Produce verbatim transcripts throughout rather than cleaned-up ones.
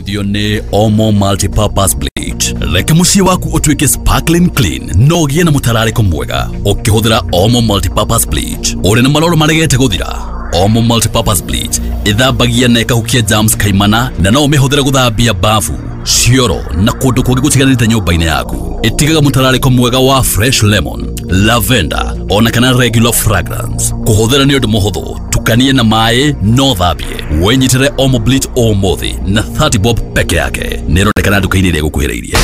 Ũrateithio nĩ Omo Multipurpose Bleach. Reke mũciĩ waku ũtuĩke sparkling clean no ũgĩe na mũtararĩko mwega ũkĩhũthĩra Omo Multipurpose Bleach. Ũrĩ na maroro maregete gũthira? Omo Multipurpose Bleach ĩthambagia na ĩkahukia germs kaimana na no ũmĩhũthĩre gũthambia bafu, cioro na kũndũ kũngĩ gũtiganĩte nyũmba-inĩ yaku. Ĩtigaga mũtararĩko mwega wa fresh lemon, lavender ona kana regular fragrance. Kũhũthĩra nĩ ũndũ mũhũthũ, tukanie na maĩ no thambie. Wĩnyitĩre Omo Bleach ũmũthĩ na thirty bob peke yake. Nĩ ĩronekana nduka-inĩ ĩrĩa ĩgũkuhĩrĩirie.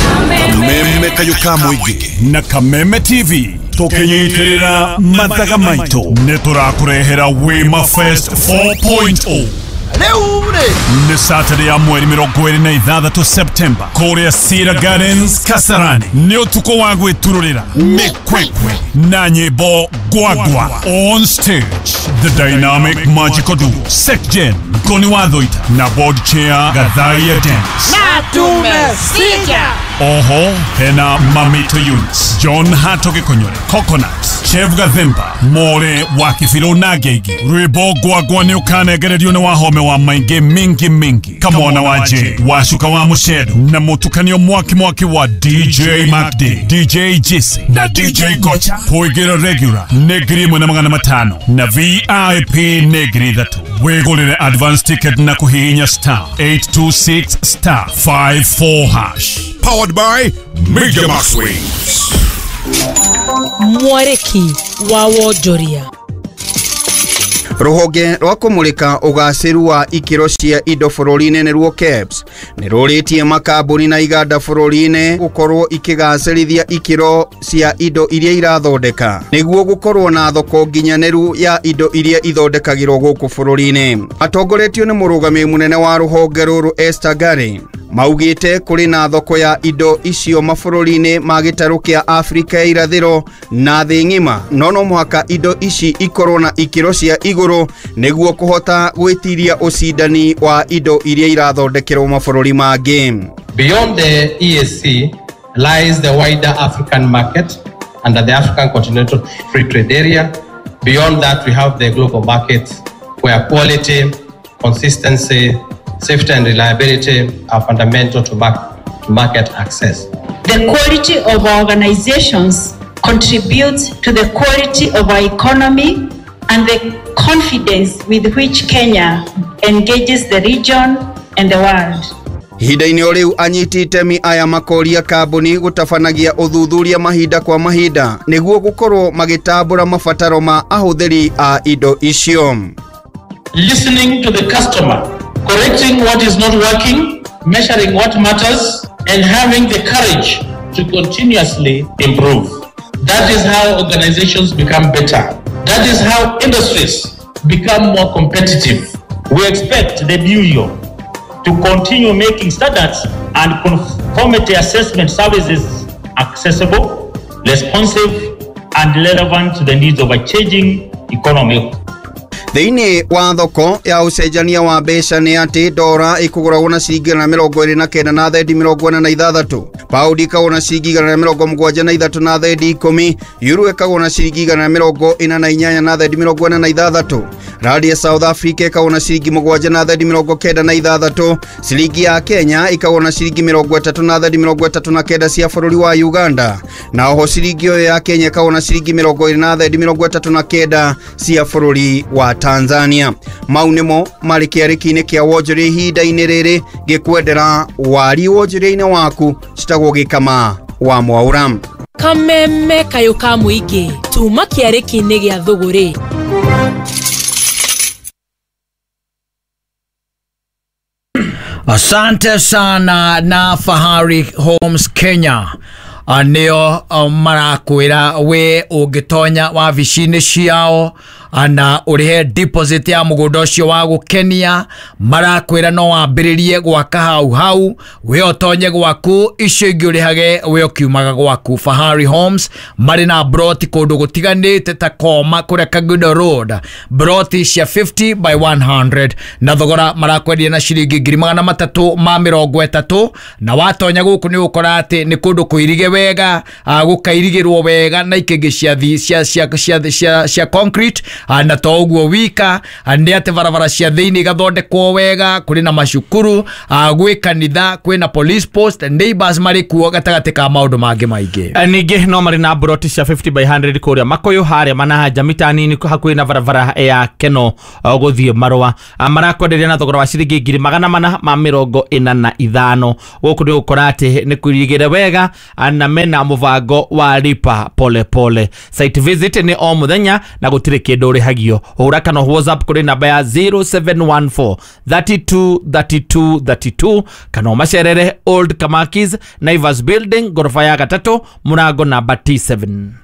Kameme kayũ ka mũingĩ na Kameme T V tũkĩnyitĩrĩra mathaga maitũ nĩ tũrakũrehera Wema Fest four point zero. Rĩu rĩ Nĩ Saturday ya mweri mĩrongo ĩrĩ na ithathatũ September kũrĩa Cedar Gardens, Kasarani. Nĩ ũtukũ wa gwĩturũrĩra mĩkwekwe na nyĩmbo gwagwa. On stage, the dynamic magical duo Secgen Ngoni wa Thoita na board chair Gathaia Dance. Na tumesija. Oho hena Mamito Eunice, John Hato Gĩkũnyũre, Coconut, Chef Gathemba, More wa Kibirũ na Ngeigi. Rwĩmbo gwagwa nĩ ũkanengererio nĩ wahome wa maingĩ mingi mingi, Kamwana wa J Wacuka wa Mũcedo na mũtukanio mwaki mwaki wa D J Macd, D J Jesse na D J Gocha. Kũingĩra regular nĩ ngiri ĩmwe na magana matano na V I P nĩ ngiri ithatũ. Wĩgũrĩre advance ticket na kũhihinya star eight two six star five four hash. Powered by Media Max Waves. Mwarĩki wa wonjoria. Rũhonge rwa kũmũrĩka ũgacĩru wa ikĩro cia indo bũrũri-inĩ nĩruo KEBS nĩ rũrĩtie makambuni na iganda bũrũri-inĩ gũkorwo ikĩgacĩrithia ikĩro cia indo iria irathondeka nĩguo gũkorwo na thoko nginyanĩru ya indo iria ithondekagĩrwo gũkũ bũrũri-inĩ. Atongoretio nĩ mũrũgamĩrĩri mũnene wa rũhonge rũrũ Esther Gary, maugĩte kũrĩ na thoko ya indo icio mabũrũri-inĩ ma gĩtarũ kĩa Afrika ya irathĩro na thĩ ng'ima, no no mũhaka indo ici ikorwo na ikĩro cia igũrũ nĩguo kũhota gwĩtiria ũcindani wa indo iria irathondekerwo mabũrũri mangĩ. Beyond the E A C lies the wider African market under the African Continental Free Trade Area. Beyond that, we have the global market where quality, consistency, safety, and reliability are fundamental to, mark- to market access. The quality of our organizations contributes to the quality of our economy and the confidence with which Kenya engages the region and the world. Ihinda-inĩ o rĩu, anyiti itemi aya makoria kambuni gũtabanagia ũthuthuria mahinda kwa mahinda nĩguo gũkorwo magĩtambũra mabataro ma ahũthĩri a indo icio. Listening to the customer, correcting what is not working, measuring what matters, and having the courage to continuously improve. That is how organizations become better. That is how industries become more competitive. We expect the Bureau to continue making standards and conformity assessment services accessible, responsive, and relevant to the needs of a changing economy. Thĩinĩ wa thoko ya ũcenjania wa mbeca nĩ atĩ ndora ĩkũgũragwo na ciringi igana mĩrongo ĩrĩ na kenda na thendi mĩrongo ĩna na ithathatũ, paundi ĩkagwo na ciringi igana rĩa mĩrongo mũgwanja na ithatũ na thendi ikũmi, euro ĩkagwo na ciringi igana rĩa mĩrongo ĩna na inyanya na thendi mĩrongo ĩna na ithathatũ, randi ya South Africa ĩkagwo na ciringi mũgwanja na thendi mĩrongo kenda na ithathatũ, ciringi ya Kenya ĩkagwo na ciringi mĩrongo ĩtatũ na thendi mĩrongo ĩtatũ na kenda cia bũrũri wa Uganda, na oho ciringi ĩyo ya Kenya ĩkagwo na ciringi mĩrongo ĩrĩ na thendi mĩrongo ĩtatũ na kenda cia bũrũri wa Tanzania. Mau nĩmo marĩ kĩarĩki-inĩ kĩa wonjoria ihinda-inĩ rĩrĩ. Ngĩkwendera wari wonjoria-inĩ waku. Citagwo Gĩkama wa Mwaũra. Kameme kayũ ka mũingĩ tuma kĩarĩki-inĩ gĩa thũgũrĩ. Asante sana na Fahari Homes Kenya. Ah, nĩo ah, marakwĩra we ũngĩtonya wabici-inĩ ciao ah, na ũrĩhe deposit ya mũgũnda ũcio wa gũkenia, marakwĩra no wambĩrĩrie gwaka hau hau. We ũtonye gwaku, icio ingĩ ũrĩhage we ũkiumaga gwaku. Fahari Homes marĩ na broti kũndũ gũtiganĩte ta Koma kũrĩa Kagudo Road, broti cia fifty by one hundred na thogora marakwendia na ciringi ngiri magana matatũ ma mĩrongo ĩtatũ. Na watonya gũkũ nĩ ũgũkora atĩ nĩ kũndũ kũirige wega, ah, gũkairigĩrwo wega na ikĩngĩ cia thi- cia cia cia cia cia concrete. Na to ũguo wika, nĩ atĩ barabara cia thĩinĩ igathondekwo wega, kũrĩ na macukuru, gwĩ kanitha, kwĩna police post, neighbors marĩ kuo gatagatĩ ka maũndũ mangĩ maingĩ. Ningĩ no marĩ na broti cia fifty by hundred kũrĩa Makoyo harĩa Manahanja mita nini hakuhĩ na barabara ya Keno gũthiĩ Marũa. Marakwenderia na thogora wa ciringi ngiri magana mana ma mĩrongo ĩna na ithano. Gũkũ nĩ ũgũkora atĩ nĩ kũirigĩre wega na mena mũbango wa lipa pole pole. Site visit nĩ o mũthenya na gũtirĩ kĩndũ ũrĩhagio. Hũra kana WhatsApp kũrĩ namba ya zero seven one four thirty two thirty two thirty two kana ũmacerere Old Kamakis Naivas Building gorofa ya gatatũ mũrango namba T seven.